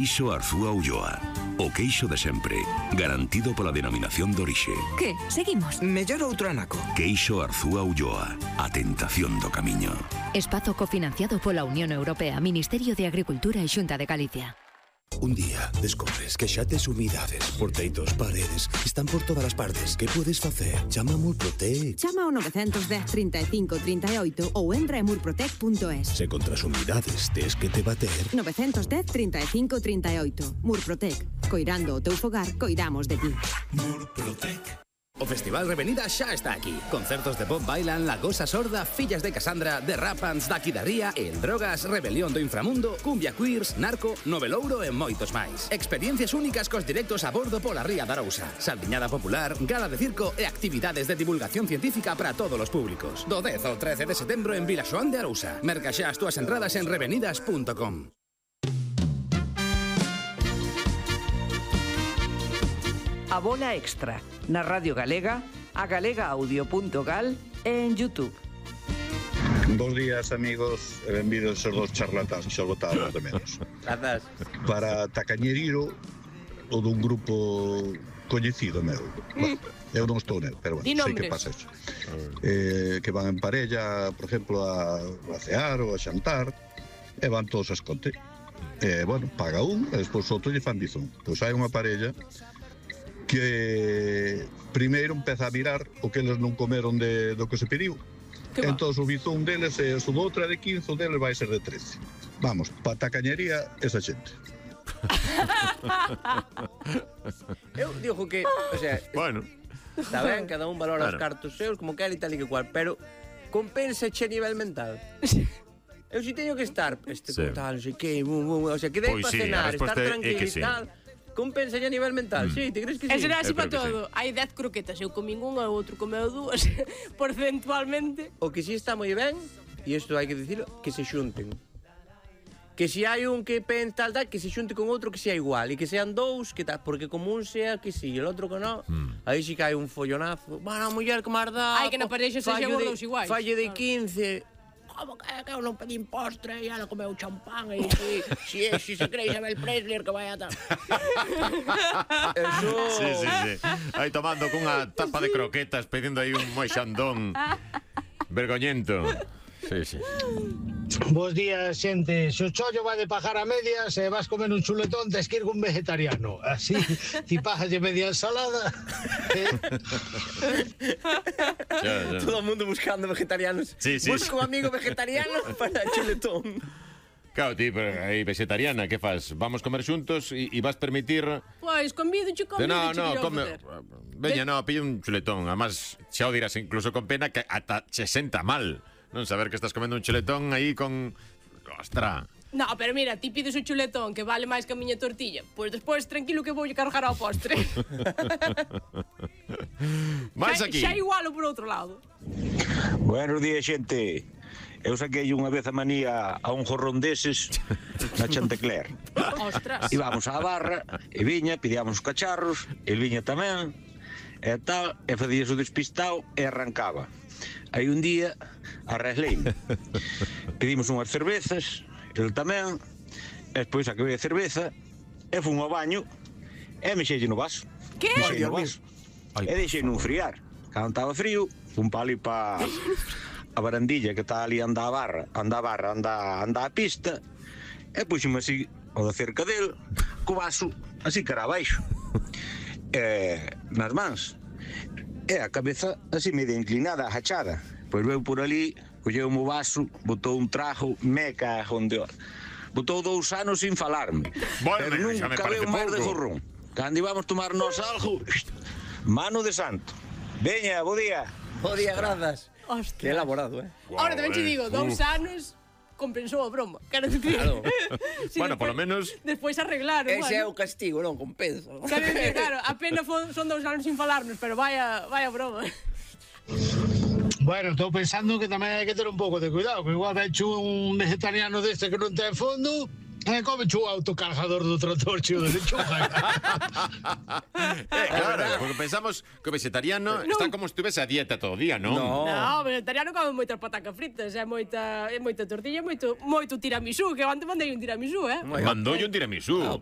Queixo Arzúa Ulloa. O queixo de sempre, garantido pola denominación de orixe. Que? Seguimos? Mellor outro anaco. Queixo Arzúa Ulloa. A tentación do camiño. Espazo cofinanciado pola Unión Europea, Ministerio de Agricultura e Xunta de Galicia. Un día descobres que xa tes humidades por teitos, paredes, están por todas as partes. Que podes facer? Chama a Murprotec. Chama ao 910 35 38 ou entra en murprotec.es. Se contra as humidades tes que te bater. 910 35 38. Murprotec. Coirando o teu fogar, coidamos de ti. Murprotec. O Festival Revenida xa está aquí. Concertos de Bob Dylan, La Gosa Sorda, Fillas de Casandra, The Rapans, Daqui da Ría, El Drogas, Rebelión do Inframundo, Cumbia Queers, Narco, Novelouro e moitos máis. Experiencias únicas cos directos a bordo pola Ría da Arousa. Saldiñada popular, gala de circo e actividades de divulgación científica para todos os públicos. Do 10 ao 13 de setembro en Vilaxoán de Arousa. Merca xa as túas entradas en revenidas.com. A Bola Extra, na Radio Galega, a galegaaudio.gal e en YouTube. Bos días, amigos, e benvidos aos dos charlatáns, xa botábamos de menos. Grazas. Para Tacañeriro, o dun grupo coñecido meu. Eu non estou nel, pero bueno, sei que pasa eso. Que van en parella, por exemplo, a cear ou a xantar, e van todos a escote. Bueno, paga un, e despois outro lle fan dizón. Pois hai unha parella que primeiro empeza a mirar o que eles non comeron do que se pediu. Entón o bizón deles é o doutra de 15, o deles vai ser de 13. Vamos, pa tacañería esa xente. Eu digo que, o sea, bueno, está ben, cada un valora os cartos seus como quer e tal e que cual, pero compensa che a nivel mental. Eu si teño que estar tal, non sei que, o sea, que dei para cenar, estar tranquilo e tal. Compensa a nivel mental, sí, te crees que sí? E será así para todo. Hai 10 croquetas, eu comín unha, o outro comeu dúas, porcentualmente. O que sí está moi ben, e isto hai que dicilo, que se xunten. Que se hai un que pen tal, que se xunte con outro que sea igual, e que sean dous, que tal, porque como un sea que sí, e o outro que non, aí sí que hai un follonazo. Bueno, a muller que máis dá... Hai que na parexa se xean os dous iguais. Falle de 15... Como que eu non pedín postre e ela comeu champán e si se cree Isabel Presley que vai a tal. Eso... Sí. Aí tomando cunha tapa de croquetas, pedindo aí un moixandón vergoñento. Sí. Bos días, xente. Se o chollo vai de pajar a medias e vas comer un chuletón, tes que ir un vegetariano. Así, ti pajas de media ensalada. Todo o mundo buscando vegetarianos. Sí. Busca un amigo vegetariano para chuletón. Claro, ti, pero aí vegetariana, que faz? Vamos comer xuntos e vas permitir... Pois, convídoche, No, come... Veña, pille un chuletón. Además, xa o dirás incluso con pena que ata che senta mal. Non saber que estás comendo un chuletón aí con... Ostra. No, pero mira, ti pides un chuletón que vale máis que a miña tortilla. Pois despois, tranquilo que voulle cargar ao postre. Máis aquí. Xa igualo por outro lado. Buenos días, xente. Eu saquei unha vez a manía a un jorrón deses na Chantecler. Ostras. Íbamos á barra, e viña, pedíamos os cacharros, e viña tamén, e tal, e facías o despistado e arrancaba. Aí un día arresleime. Pedimos unhas cervezas, el tamén, e despois acabei a cerveza, e fun ao baño, e mexelle no vaso. Que? Mexelle no vaso. E deixei non friar. Cando estaba frío, fun pa ali pa a barandilla que está ali anda a pista, e puxeme así ao da cerca del, co vaso, así cara abaixo. Nas mans. E a cabeza así media inclinada, agachada. Pois veu por ali, colleu o vaso, botou un trajo, me cajo onde... Botou 2 anos sin falarme. Bueno, pero nunca veu máis de jorrón. Cando íbamos tomarnos algo, mano de santo. Veña, bo día. Bo día, grazas. Ostras. Que elaborado, Ahora tamén te digo, 2 anos compensou a broma. Quero dicir. Claro. Bueno, polo menos... Despois arreglaron. Ese é o castigo, non compensa. Claro, apenas son 2 anos sin falarnos, pero vaya broma. Bueno, estou pensando que tamén hai que ter un pouco de cuidado, que igual vecho un vegetariano deste que non ten fondo Come chu autocargador do trator cheo de lechuga. Claro, porque pensamos que o vegetariano está como se estuvese a dieta todo o día, non? No, o vegetariano come moitas patacas fritas, moita tortilla, moito tiramisú, que antes mandei un tiramisú, Mandoulle un tiramisú.